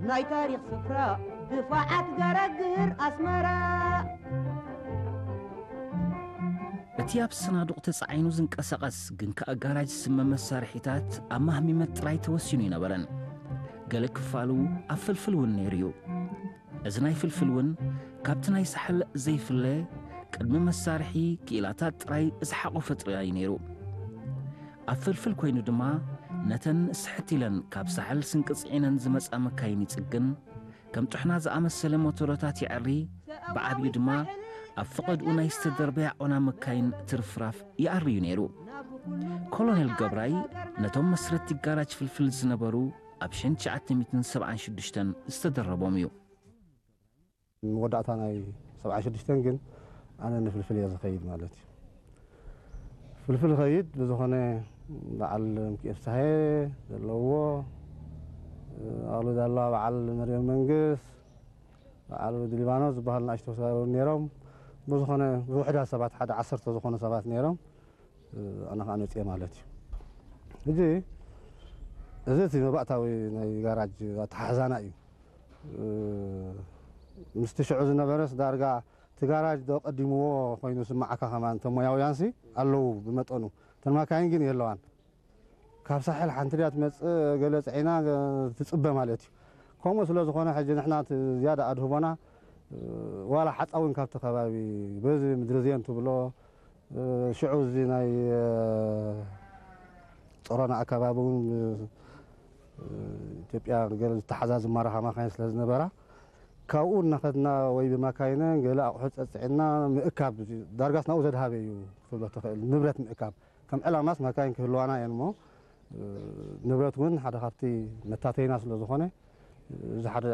ናይ ታሪኽ ስፍራ ድፋዓት ገረግር ኣስመራ። እቲ ኣብ ሰናዱቕ ተጻዒኑ ዝንቀሳቐስ ግን ከኣ ጋራጅ ዝስመ መሳርሒታት ኣብ ማህሚመት ጥራይ ተወሲኑ ኣይነበረን። ገለ ክፋሉ ኣብ ፍልፍል እውን ነይሩ እዩ። እዚ ናይ ፍልፍል እውን ካብቲ ናይ ሳሕል ዘይፍለ፣ ቅድሚ መሳርሒ ክኢላታት ጥራይ ዝሓቖፈ ጥራይ ነይሩ። ኣብ ፍልፍል ኮይኑ ድማ ነተን ስሕት ኢለን ካብ ሳሕል ስንቂ ጽዒነን ዝመጻ መካይን ይጽግን፣ ከም ጥሕና ዝኣመሰለ ሞተሮታት ይዐሪ፣ ብዓብዩ ድማ ኣብ ፈቐድኡ ናይ ዝተደርበያ ዖና መካይን ትርፍራፍ ይኣርዩ ነይሩ። ኮሎኔል ገብራይ ነቶም መስረቲ ጋራጅ ፍልፍል ዝነበሩ ኣብ ሸንሸዓተ ሚእትን ሰብዓን ሽዱሽተን ዝተደረቦም እዩ። መወዳእታ ናይ ሰብዓ ሽዱሽተን ግን ኣነ ንፍልፍል እየ ዝኸይድ ማለት እዩ። ፍልፍል ኸይድ ብዝኾነ በዓል ምክኤል ፍስሃየ ዘለዎ፣ ኣሉ ዳላ በዓል መርየም መንግስ፣ በዓል ወዲ ሊባኖስ ዝበሃሉ ንኣሽቶ ሰባት እውን ነይሮም። ብዝኾነ ብውሕዳት ሰባት፣ ሓደ ዓሰርተ ዝኾኑ ሰባት ነይሮም። ኣነ ከዓ መፅየ ማለት እዩ። ሕጂ እዚ እቲ መባእታዊ ናይ ጋራጅ ኣተሓሕዛና እዩ። ምስቲ ሽዑ ዝነበረስ ዳርጋ እቲ ጋራጅ ዶ ቀዲምዎ ኮይኑ ስማዓካ። ከማን እቶም ሞያውያንሲ ኣለዉ ብመጠኑ፣ እተን ማካይን ግን የለዋን። ካብ ሳሕል ሓንቲ ድያ ትመፅእ፣ ገለ ፅዒና ትፅበ ማለት እዩ። ከምኡ ስለ ዝኾነ ሕጂ ንሕና እቲ ዝያዳ ኣድህቦና ዋላ ሓፃዊን ካብቲ ከባቢ በዚ ምድሪ ዜን ትብሎ ሽዑ እዚ ናይ ጾሮና ኣከባቢ እውን ኢትዮጵያ ገለ ዝተሓዛ ዝማረኻ ማካይን ስለ ዝነበራ ካብኡ እናኸድና ወይ ብማካይነን ገለ ኣቑሑ ጸጽዕና ምእካብ ዳርጋስ ናብኡ ዘድሃበ እዩ ክትብሎ ትኽእል። ንብረት ምእካብ ከም ዕላማስ ማካይን ክህልዋና እየን እሞ ንብረት እውን ሓደ ካብቲ መታተይና ስለ ዝኾነ እዚ ሓደ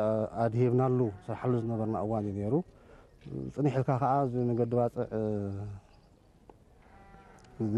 ኣድሂብናሉ ስርሓሉ ዝነበርና እዋን እዩ ነይሩ። ጽኒሕ ኢልካ ከዓ እዚ መገዲ ባፅዕ እዚ